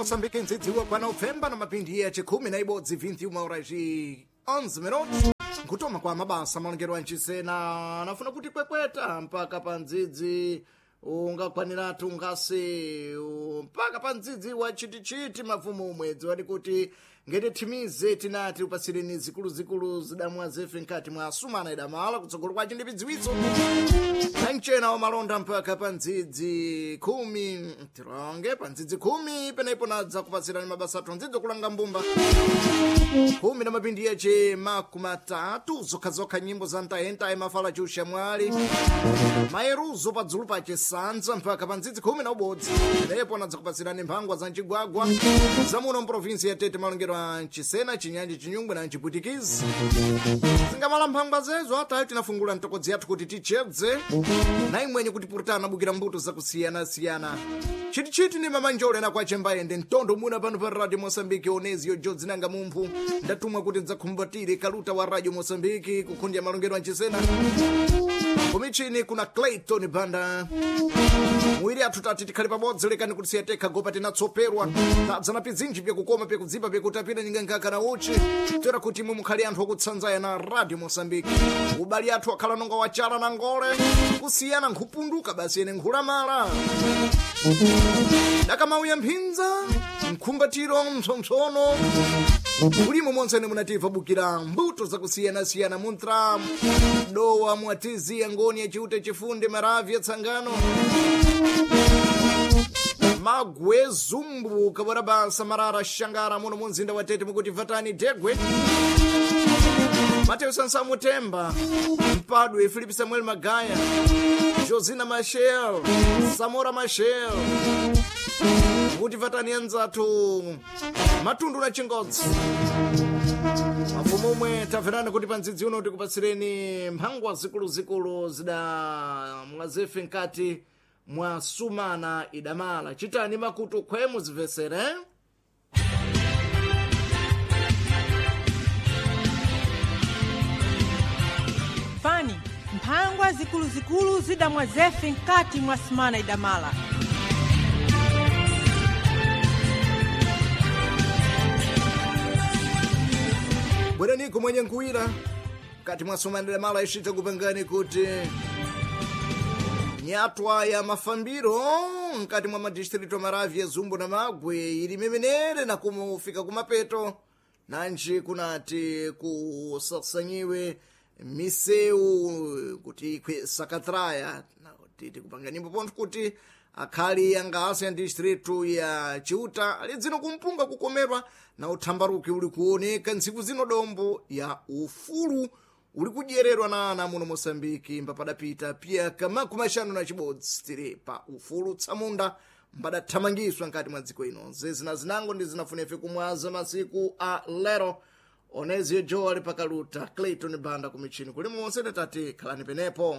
Moçambique nzidziwa kwa Novemba na mapindi ya chikumi na ibodzi 21 horas e 11 minutos. Nkutoma kwa mabasa malongero ancisena anafuna kuti kwekweta mpaka pa ndzidzi ungakwaniratu ngasi mpaka pa ndzidzi wa chitichiti mafumu umwedzi wadi kuti ngete thimize tinati upasireni zikuluzikulu zidamwa zefe nkati mwa sumana idamala kutsogolo kwace ndi pidziwitso nanchena wamalonda mpaka pa ndzidzi khumi tironge pa ndzidzi khumi penepo nadza kupatsirani mabasa athu ndzidzi okulanga mbumba khumi na mapindi yace makumi atatu zokhazokha nyimbo za ntayentaye mafala chiushamwali mayeruzo padzulu pace sanza mpaka pa ndzidzi khumi na ubodzi penepo nadza kupatsirani mphangwa za mcigwagwa zamuno mprovinsi ya Tete malongero a Nchisena Chinyanja Chinyungwe na Nchipwitikizi zingamala mphangwa zezo atayo tinafungula mtokodzi yathu kuti tichedze na imwenye kuti purutana bukira mbuto zakusiyana-siyana chitichiti ni mamanjole na kwache mbayende mtondo muna pano pa radio Moçambique onezio jodzinanga mumphu ndatumwa kuti ndidzakhumbatire kaluta wa radio Moçambique kukhundya malongero a Nchisena kumichini kuna Clayton Banda mwiri athu tati tikhale pabodzi lekani kuti siyatekha gopa tinatsoperwa tadzana pizinji pyakukoma pyakudzipa pyakutapira nyinga na uchi toera kuti imwe mukhale anthu okutsanzaya na radio Moçambique ubali athu akhala nonga wachala na ngole kusiyana nkhupunduka basi ene nkhulamala dakamauya mphinza mkhumbatiro mpsompsono ulimo monse ene munativa bukira mbuto zakusiyanasiyana muntra dowa mwatizi yangoni yachiute chifunde maravi yatsangano magwe zumbu kabarabasa marara shangara muno munzinda wa Tete mukuti vatani degwe Mateo Sansamu Temba Mpadwe Filipe Samuel Magaya Josina Machel Samora Machel mukuti vatani anzathu matundu na chingodzi mafumu omwe tamverani kuti pa ndzidzi uno tikupatsireni mphangwa zikuluzikulu zida mwazefe nkati mwa sumana idamala chitani makutu khwemu zimvesere Fani, mphangwa zikuluzikulu zidamwa zefe nkati mwa sumana idamala. Bweraniko mwenye nkuwira kati mwa sumana idamala icita kupangani kuti nyatwa ya mafambiro mkati mwa madistritu amaravi ya Zumbu na Magwe ili memenere na kumufika kumapeto nanji kunati kusasanyiwe miseu kuti ikhwe sakatraya titi kupanga nyimbo pontho kuti akhali angase ya distritu ya Chiuta ali dzino kumpunga kukomerwa na uthambaruki uli kuoneka ntsiku zino dombo ya ufulu uli kudyererwa na ana muno Moçambique mbapadapita piyaka makumi axanu na chibodzi tiri pa ufulu tsamunda mbadathamangiswa nkati mwa dziko ino zezina zinango ndi zinafunefe kumwaza masiku a lero onezio joe ali pakaluta Clayton Banda kumichini kuli monse tati khalani penepo.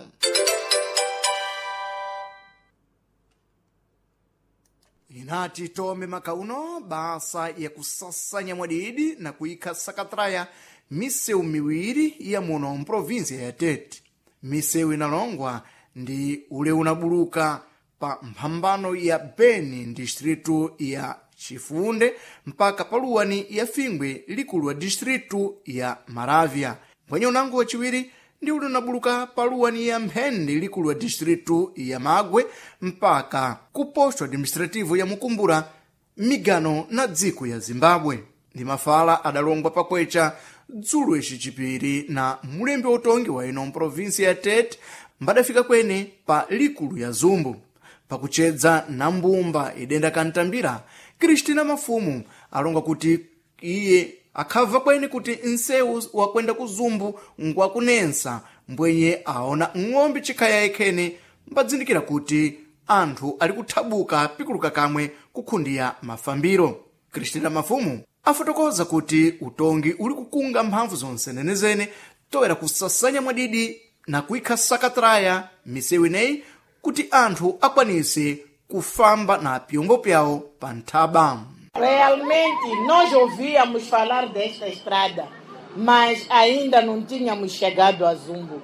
Inati tome makauno basa yakusasanya mwadidi na kuikha sakatraya miseu miwiri ya muno mprovinsia ya Tete. Miseu inalongwa ndi ule unabuluka pa mphambano ya Beni distritu ya Chifunde mpaka paluwani ya Fingwe likulu wa distritu ya Maravya. Mbwenye unango wachiwiri ndi ule unabuluka paluwani ya Mphende likulu wa distritu ya Magwe mpaka ku posto administrativo ya Mukumbura migano na dziko ya Zimbabwe. Ndi mafala adalongwa pakwecha dzulo icicipiri na mulembi utongi wa ino mprovinsi ya Tete mbadafika kwene pa likulu ya Zumbu pakuchedza na mbumba idenda kantambira Kristina Mafumu alonga kuti iye akhabva kwene kuti nsewu wakwenda ku Zumbu ngwakunensa mbwenye aona ng'ombe chikhaya ikhene mbadzindikira kuti anthu ali kuthabuka pikuluka kamwe kukhundiya mafambiro. Kristina Mafumu afotokoza kuti utongi uli kukunga mphamvu zonse nenezene toera kusasanya mwadidi na kuikha sakatraya misewu ineyi kuti anthu akwanise kufamba na pyombo pyawo pa nthaba. Realmente nós ouvíamos falar desta estrada, mas ainda não tínhamos chegado a Zumbo.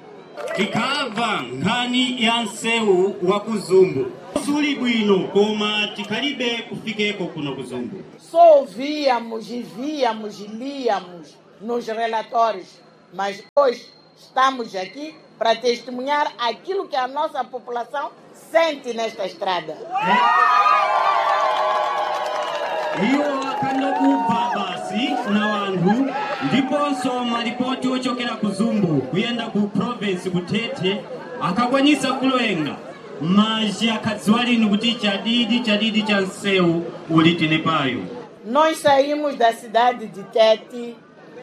Tikabva nkhani ya nsewu wa ku Zumbu. Suli bwino koma tikhalibe kufikeko kuno kuzumbu. Só ouvíamos e víamos e líamos nos relatórios, mas hoje estamos aqui para testemunhar aquilo que a nossa população sente nesta estrada. Iwo akandokubva basi na wanthu ndiponso malipoti ochokera ku Zumbu kuyenda ku province kutete akakwanisa kulenga mazhi akhadziwa linu kuti chadidi chadidi cha msewu uli tili payo. Nós saímos da cidade de Tete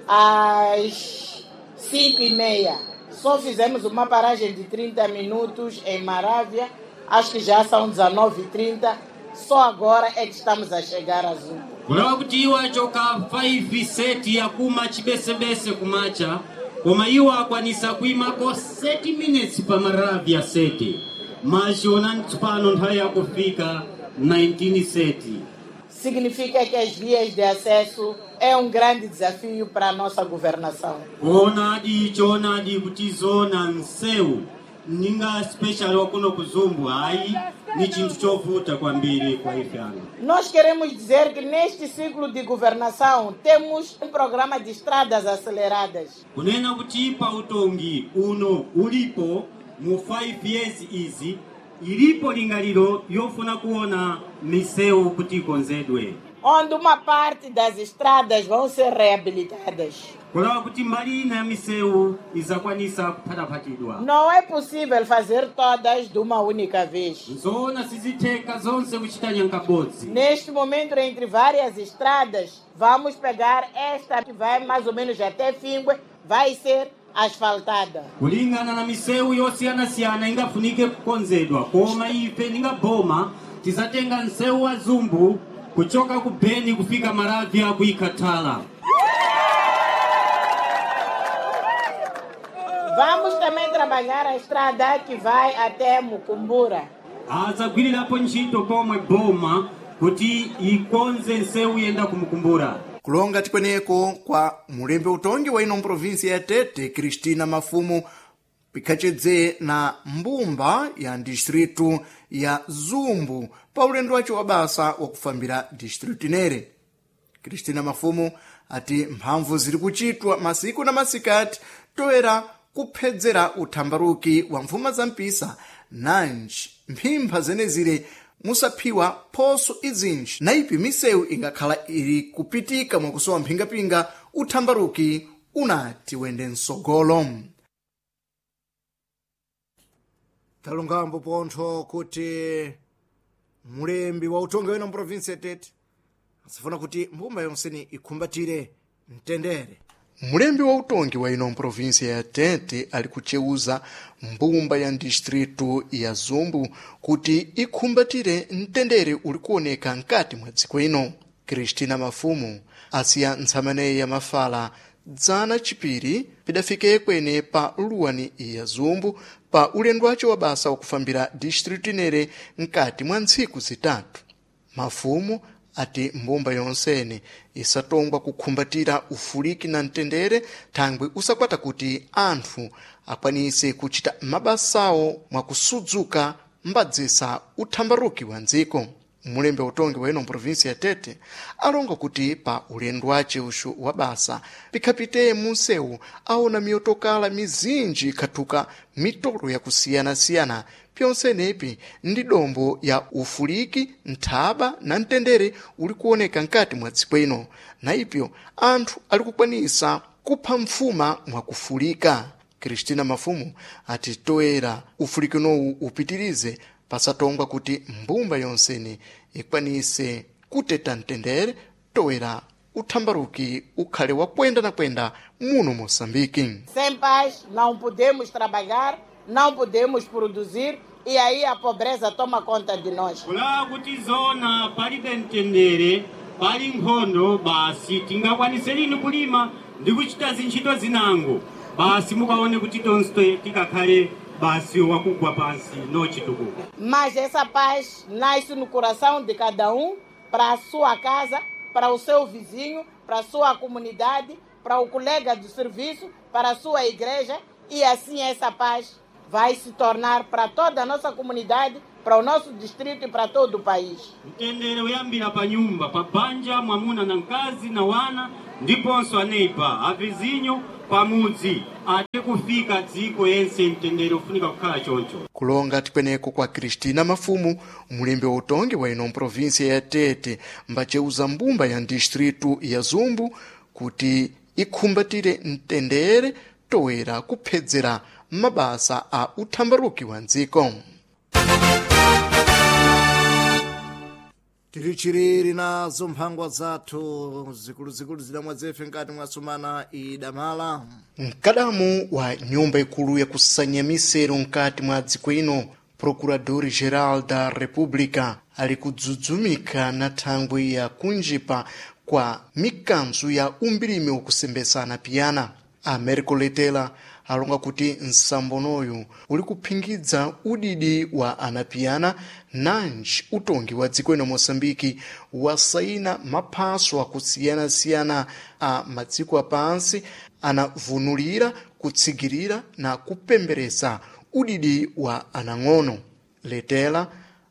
às 5:30. Só fizemos uma paragem de 30 minutos em Marávia. Acho que já são 19:30. Só agora é que estamos a chegar a Zumbu. Kulawa kuti iwo achoka 5 seti yakuma chibesebese kumacha koma iwo akwanisa kuimako 7 minutes pa Maravia seti mazhi onani tsopano nthawi yakufika 19 seti. Significa que as vias de acesso é um grande desafio para a nossa governação. Kuonadi choonadi kuti zona msewu ninga special wakuno kuzumbu hayi ni chinthu chovuta kwambiri kwa ife ano. Nós queremos dizer que neste ciclo de governação temos um programa de estradas aceleradas. Kunena kuti pa utongi uno ulipo mu 5 years izi ilipo lingaliro yofuna kuona misewu kuti ikonzedwe. Onde uma parte das estradas vão ser reabilitadas. Kulawa kuti mbali ina ya misewu izakwanisa kuphataphatidwa. Não é possível fazer todas de uma única vez. Nzoona sizitheka zonse kuchita nyankabodzi. Neste momento, entre várias estradas, vamos pegar esta que vai mais ou menos até Fingue, vai ser asfaltada. Kulingana na misewu yosiyanasiyana ingafunike kukonzedwa koma ife ningaboma tizatenga msewu wa Zumbu kuchoka ku Beni kufika Maravia kuikatala. Vamos também trabalhar a estrada que vai até Mucumbura. Azagwirirapo ntchito pomwe boma kuti ikonze nsewu yenda kumukumbura. Kulonga tikweneko kwa mulembe utongi wa ino mprovinsi ya Tete Cristina Mafumu pikhacedze na mbumba ya distritu ya Zumbu pa ulendo wace wa basa wakufambira distritu inere. Cristina Mafumu ati mphamvu ziri kuchitwa masiku na masikati toera kuphedzera uthambaruki wa mfuma za mpisa nanji mphimpha zenezire musaphiwa phoso izinji na ipi misewu ingakhala ili kupitika mwakusowa mphingapinga uthambaruki unati wende msogolo. Talungambo pontho kuti mulembi wa utongi wena mprovinsi ya Tete asifuna kuti mbumba yonseni ikhumbatire mtendere. Mulembi wa utongi wa ino mprovinsi ya Tete ali kuceuza mbumba ya distritu ya Zumbu kuti ikhumbatire mtendere uli kuoneka nkati mwa dziko ino. Cristina Mafumu asiya ntsamaneyi ya mafala dzana chipiri pidafike kwene pa luwani ya Zumbu pa ulendo wace wa basa wakufambira distritu inere nkati mwa ntsiku zitatu. Mafumu ati mbumba yonsene isatongwa kukhumbatira ufuliki na mtendere thangwi usakwata kuti anthu akwanise kuchita mabasawo mwakusudzuka mbadzisa uthambaruki wa ndziko. Mulembe utongi wa ino mprovinsi ya Tete alonga kuti pa ulendo wace uxu wa basa pikhapite munsewu aona miyotokala mizinji ikhathuka mitolo yakusiyanasiyana pyonsenepi ndi dombo ya ufuliki nthaba na mtendere uli kuoneka nkati mwa dziko ino na ipyo anthu ali kukwanisa kupha mfuma mwakufulika. Cristina Mafumu ati toera ufulikinowu upitirize pasatongwa kuti mbumba yonsene ikwanise kuteta mtendere toera uthambaruki ukhale wakwenda na kwenda muno Moçambique. Sem paz não podemos trabalhar, não podemos produzir e aí a pobreza toma conta de nós. Kulawa kuti zona palibe mtendere pali nkhondo basi tingakwanise lini kulima ndi kuchita zintchito zinango basi mukaone kuti tonse tikakhale basi wakugwa pansi nochitukuka. Mas essa paz nasce no coração de cada um, para a sua casa, para o seu vizinho, para a sua comunidade, para o colega do serviço, para a sua igreja, e assim essa paz vai se tornar para toda a nossa comunidade, para para o nosso distrito e para todo o país. Mtendere uyambira pa nyumba, pa banja, mwamuna na mkazi na wana, ndiponso aneiba, avizinyo pamudzi, ate kufika dziko yense mtendere ufunika kukhala choncho. Kulonga tikweneko kwa Cristina Mafumu, mulembe wa utongi wa ino mprovinsia ya Tete, mbaceuza mbumba ya distritu ya Zumbu kuti ikhumbatire mtendere toera kuphedzera mabasa a uthambaruki wa ndziko. Tiri chiriri nazo mphangwa zathu zikuluzikulu zidamwa zefe nkati mwasumana idamala. Mkadamu wa nyumba ikulu yakusanya misero nkati mwa dziko ino, Procurador Geral da República, ali kudzudzumika na thangwi ya kunjipa kwa mikanzo ya umbirimi wakusembesana piyana. Americo Letela alonga kuti nsambonoyu uli kuphingidza udidi wa anapiyana nanji utongi wa dziko ino Moçambike wasaina maphaso akusiyana-siyana a madziko apansi anavunulira, kutsigirira na kupemberesa udidi wa anang'ono. Letela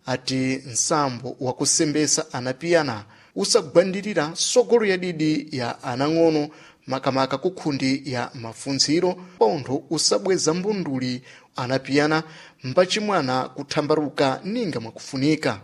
ati nsambo wakusembesa anapiyana usagwandirira sogolo ya didi ya anang'ono makamaka kukhundi ya mafunziro pontho usabweza mbunduli anapiyana mbachimwana kuthambaruka ninga mwakufunika.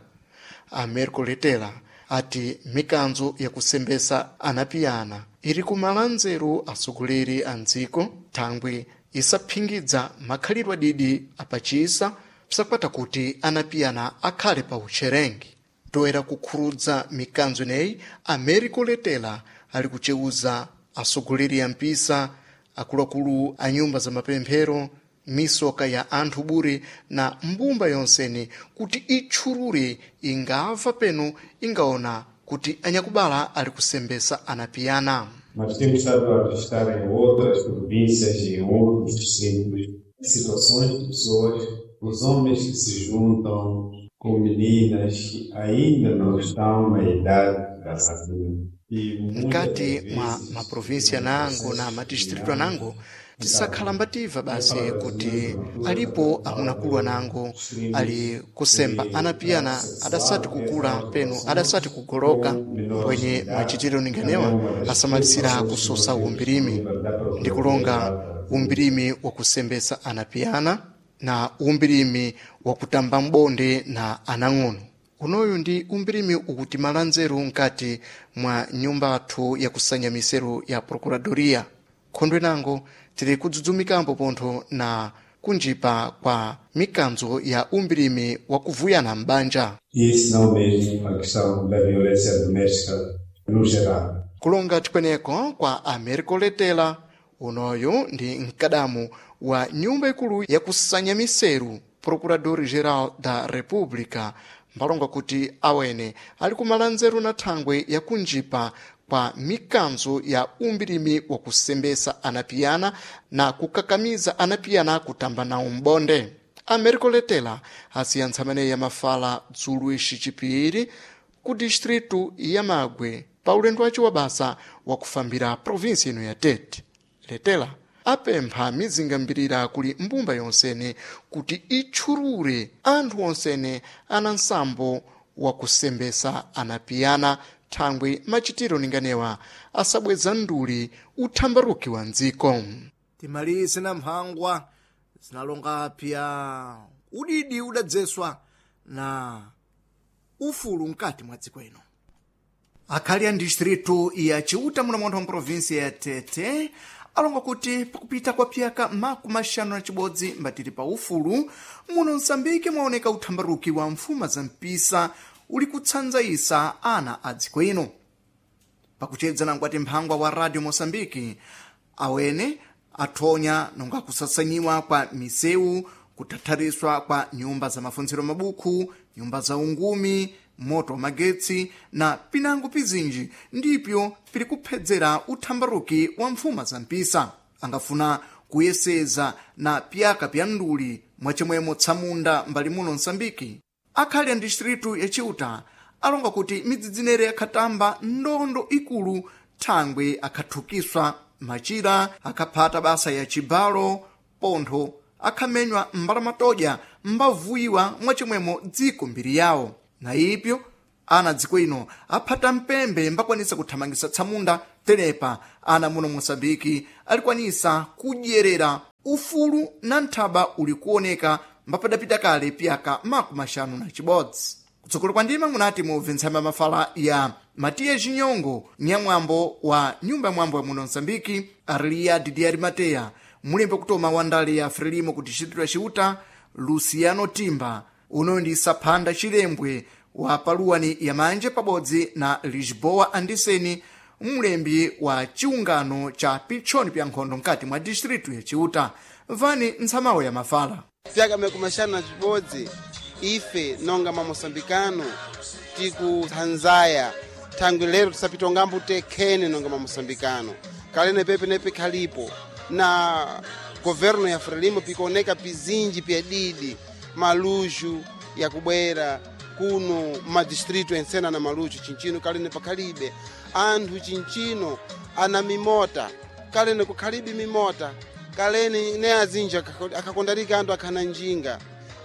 Americo Letela ati mikanzo yakusembesa anapiyana iri kumala nzeru atsogoleri a ndziko thangwi isaphingidza makhalidwe adidi apachisa psakwata kuti anapiyana akhale pa utcherengi. Toera kukhurudza mikanzo ineyi, Americo Letela ali kuceuza atsogoleri a mpisa, akuluakulu a nyumba za mapemphero, misoka ya anthu bure na mbumba yonsene kuti itchulure ingamva peno ingaona kuti anyakubala ali kusembesa anapiyana. Mas temos estado a registrar em outras províncias e em outros distritos situações de pessoas, os homens que se juntam com meninas que ainda não estão na idade de casamento. Mkati mwa maprovinsia nango na madistritu anango tisakhala mbativa basi kuti alipo amunakulu anango ali kusemba anapiyana adasati kukula peno adasati kugoloka, mbwenye machitiro ninganewa asamalisira kusosa umbirimi ndi kulonga umbirimi wakusembesa anapiyana na umbirimi wakutamba mbonde na anang'ono. Unoyu ndi umbirimi ukutimala nzeru nkati mwa nyumba athu yakusanya miseru ya Procuradoria. Khondwe nango tiri kudzudzumikapo pontho na kunjipa kwa mikanzo ya umbirimi wakuvuyana m'banja. E se não mesmo a questão da violência doméstica no geral. Kulonga tikweneko kwa Americo Letela, unoyu ndi mkadamu wa nyumba ikulu yakusanya miseru Procurador Geral da República, mbalonga kuti awene ali kumala nzeru na thangwe yakunjipa kwa mikanzo ya umbirimi wakusembesa anapiyana na kukakamiza anapiyana kutamba nawo mbonde. Americo Letela asiya ntsamene ya mafala dzulu ixi chipiri ku distritu ya Magwe pa ulendo wace wa basa wakufambira provinsi ino ya Tete. Letela apempha mizinga mbirira kuli mbumba yonsene kuti itchulure anthu onsene ana nsambo wakusembesa anapiyana thangwi machitiro ninganewa asabweza nduli uthambaruki wa ndziko. Timalise na mphangwa zinalonga pya udidi udadzeswa na ufulu mkati mwa dziko ino. Akhali a distritu ya Chiuta muno munthu wa mprovinsi ya Tete alonga kuti pakupita kwa pyaka 51 mbatiri pa ufulu muno Msambiki mwaoneka uthambaruki wa mfuma za mpisa uli kutsanzaisa ana a dziko ino. Pakuchedza nangwati mphangwa wa Radio Mosambiki, awene athonya nonga kusasanyiwa kwa misewu, kutathariswa kwa nyumba za mafunziro mabukhu, nyumba za ungumi, moto wa magetsi na pinango pizinji ndipyo pili kuphedzera uthambaruki wa mfuma za mpisa. Angafuna kuyeseza na pyaka pya nduli mwachemwemo tsamunda mbali muno Msambiki. Akhali a distritu ya Chiuta alonga kuti midzidzinere yakhatamba ndondo ikulu thangwe akhathukiswa machira, akhaphata basa ya chibalo, pontho akhamenywa mbalamatoja mbavuyiwa mwachimwemo dziko mbiri yawo. Na ipyo ana dziko ino aphata mpembe mbakwanisa kuthamangisa tsamunda tenepa ana muno Moçambike alikwanisa kudyerera ufulu na nthaba uli kuoneka mbapadapita kale pyaka 56. Kutsogolo kwa ndima munati mubve ntsamba mafala ya Matiya Chinyongo nyamwambo wa nyumba ya mwambo ya muno Msambiki, Arlia Didier Mateya mulembe kutoma wa ndale ya Frelimo ku distrito ya Ciuta, Luciano Timba uno ndi Saphanda Chilembwe wa paluwani ya manje pabodzi na Lisboa Andiseni mlembi wa chiungano cha pitchoni pya nkhondo mkati mwa distrito ya Ciuta. Vani ntsamawo ya mafala. Fyaka mekumashana na chibodzi ife nonga mamosambikano tikuthanzaya thangwi lero tisapitongambo tekhene nonga mamosambikano kalene pepe nepe khalipo na governo ya Frelimo pikuoneka pizinji pyadidi maluxu yakubwera kuno madistrito ensena na maluxu chinchino kalene pakhalibe anthu chinchino ana mimota kalene kukhalibe mimota kalene ne azinji akhakondarika anthu akhana njinga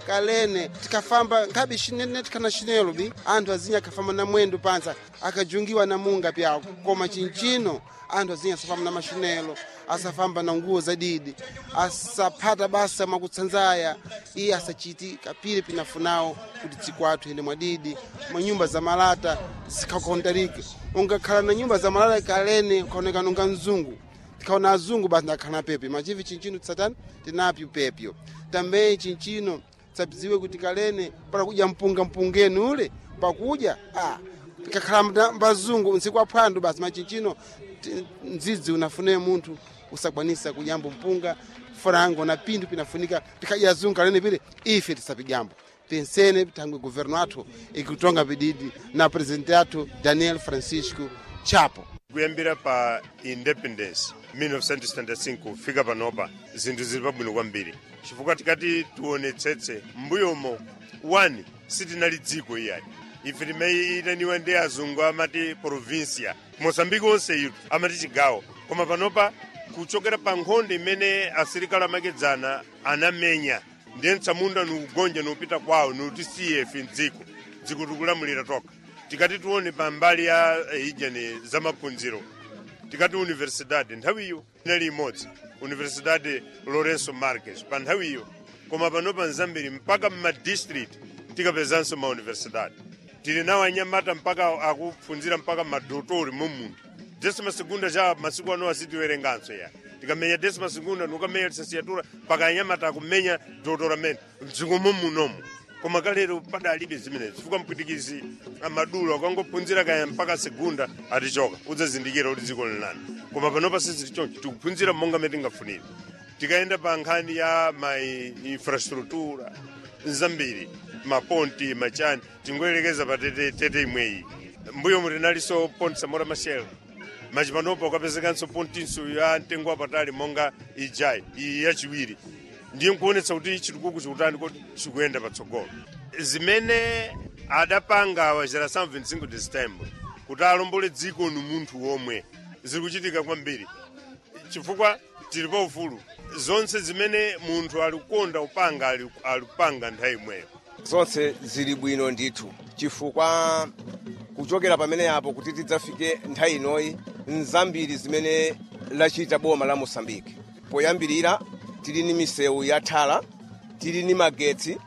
kalene tikafamba nkhabe ne tikhana chinelo bi anthu azinji akhafamba na mwendo pansi akajungiwa na munga pyawo koma chinchino anthu azinji asafamba na machinelo asafamba na nguwo zadidi asaphata basa mwakutsanzaya iye asachiti kapire pinafunawo kuti dziko athu ende mwadidi manyumba za malata zikhakondarike ungakhala na nyumba za malata kalene ukaoneka nonga mzungu tikaona azungu basi ndakhala pepe machivi chinchino tisatani tinapyo pepyo tambe chinchino tsabiziwe kuti kalene para kudya mpunga mpungeni ule pakudya tikakhala mbazungu ntsiku aphwando basi machinchino ndzidzi unafune munthu usakwanisa kudyambo mpunga frango na pinthu pinafunika tikadya azungu kalene pile ife tisapidyambo pensene thangwe governo athu ikutonga pididi na presidente athu Daniel Francisco Chapo. Kuyambira pa independence 1975 kufika panopa zinthu zili pabwino kwambiri chifukwa tikati tionetsetse m'mbuyomo 1 sitinali dziko iyani ife timayitaniwa ndi azungu amati provincia Mosambiki onse itu amati chigawo koma panopa kuchokera pa nkhondo imene asilikali amakedzana anamenya ndiye mtsamunda nikugonja niupita kwawo niutisiye ife mdziko dziko tikulamulira toka. Tikati tione pambali ya ijani za maphunziro tikati universidade nthawiyo inali imodzi Universidade Lourenço Marques pa nthawiyo koma panopa nzambiri mpaka mmadistrict tikapezanso ma universidade tili nawo anyamata mpaka akuphunzira mpaka madotori mumunthu desima segunda cha masiku ano asitiwerenganso ya tikamenya desima segunda nukamenya licenciatura mpaka anyamata akumenya doutoramento mdziko momunomu koma kalero padalibe zimenezi chifukwa mpwitikizi amadulo akangophunzira kaya mpaka segunda atichoka udzazindikira kuti dziko linani koma panopa sizili choncho tikuphunzira monga mmene tingafunire. Tikayenda pa nkhani ya ma infrastructura zambiri maponti machani tingoyerekeza pa tete, tete imweyi mbuyo mutinalinso ponti Samora Machel machipanopa ukapezekanso pontinso ya mtengo wapatali monga ijayi iyi yachiwiri ndiye nkuonetsa kuti chitukuko chikutani kuti chikuyenda patsogolo. Zimene adapanga wa geração 25 de setembro kuti alombole dziko ni munthu womwe ziri kuchitika kwambiri chifukwa tili pa ufulu zonse zimene munthu alikukonda upanga alipanga nthawi imweyo. Zonse zili bwino ndithu chifukwa kuchokera pamene apo kuti tidzafike nthawi inoyi nzambiri zimene lachita boma la Mosambiki. Poyambirira tili ni misewu ya thala, tili ni magetsi,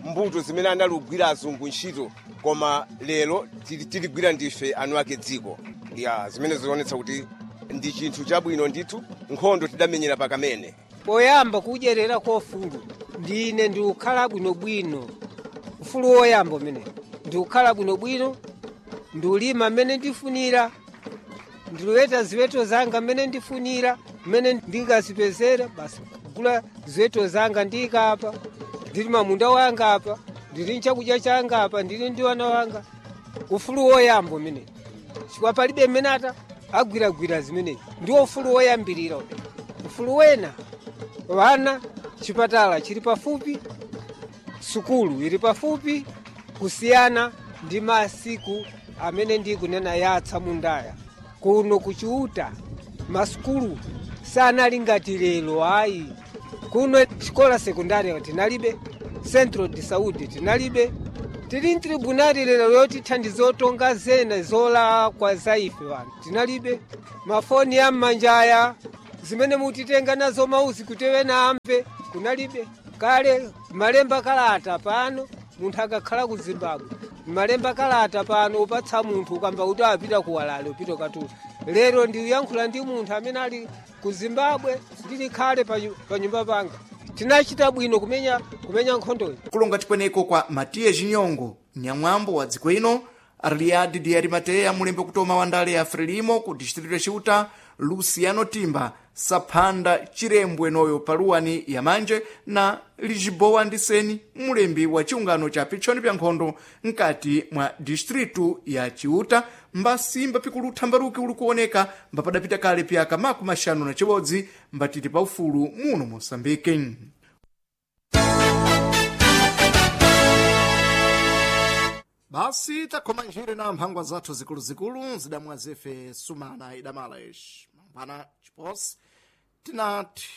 mbuto zimene analugwira azungu ntchito koma lero tiligwira ndife anu ake dziko ya zimene zionetsa kuti ndi chinthu chabwino ndithu. Nkhondo tidamenyera pakamene poyamba kudyerera kwa ufulu ndine ndikukhala bwinobwino. Ufulu woyamba umene ndikukhala bwinobwino, ndiulima mmene ndifunira, ndiluweta ziweto zanga mmene ndifunira, mmene ndingazipezera basi kugula ziweto zanga ndikapa ndili mamunda wanga apa, ndili nchakudya changa apa, ndili ndi wana wanga. Ufulu woyamba umene chifukwa palibe mmene ata agwiragwira zimenezi, ndiwo ufulu woyambirira umene. Ufulu wena wana chipatala chili pafupi, sukulu ili pafupi, kusiyana ndi masiku amene ndikunena yatsa mundaya kuno kuchiuta masukulu sanali ngati lero ayi. Kuno xikola sekundari tinalibe, Centro de Saúde tinalibe. Tili mtribunali lero yotithandiza otonga zena zolakwa za ife wanthu tinalibe. Mafoni ya mmanjaya zimene mutitenga nazo mauzi kuti ena amve kunalibe. Kale malemba kalata pano munthu akakhala ku Zimbabwe malemba kalata pano upatsa munthu ukamba kuti apita ku Walale upita katula. Lero ndiyankhula ndi munthu amene ali ku Zimbabwe ndili khale pa nyumba panga. Tinachita bwino kumenya kumenya nkhondoyi. Kulonga tikweneko kwa Matiya Jinyongo, nyamwambo wa dziko ino, Arliadi de Arimateya, mulembe kutoma wa ndale ya Frelimo ku distritu ya Ciuta, Luciano Timba, Saphanda Chirembwe noyo paluwani ya manje na Lisboa Ndiseni, mulembi wa chiungano cha pitchoni pya nkhondo mkati mwa distritu ya Ciuta, mbasimba pikulutha mbaruki uli kuoneka mbapadapita kale pyaka 51 mbatiti pa ufulu muno Mosambike. Basi takhoma njire na mphangwa zathu zikuluzikulu zidamwa zefe sumana idamala ishi mangwana chiposi tinati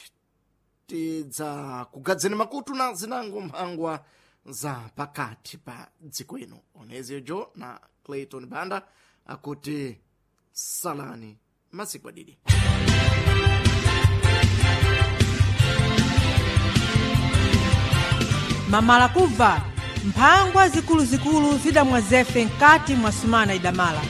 tidza kugadzeni makutu na zinango mphangwa za pakati pa dziko ino. Onezejo na Clayton Banda akuti salani masiku adidi. Mamala kubva mphangwa zikuluzikulu zidamwa zefe mkati mwa sumana idamala.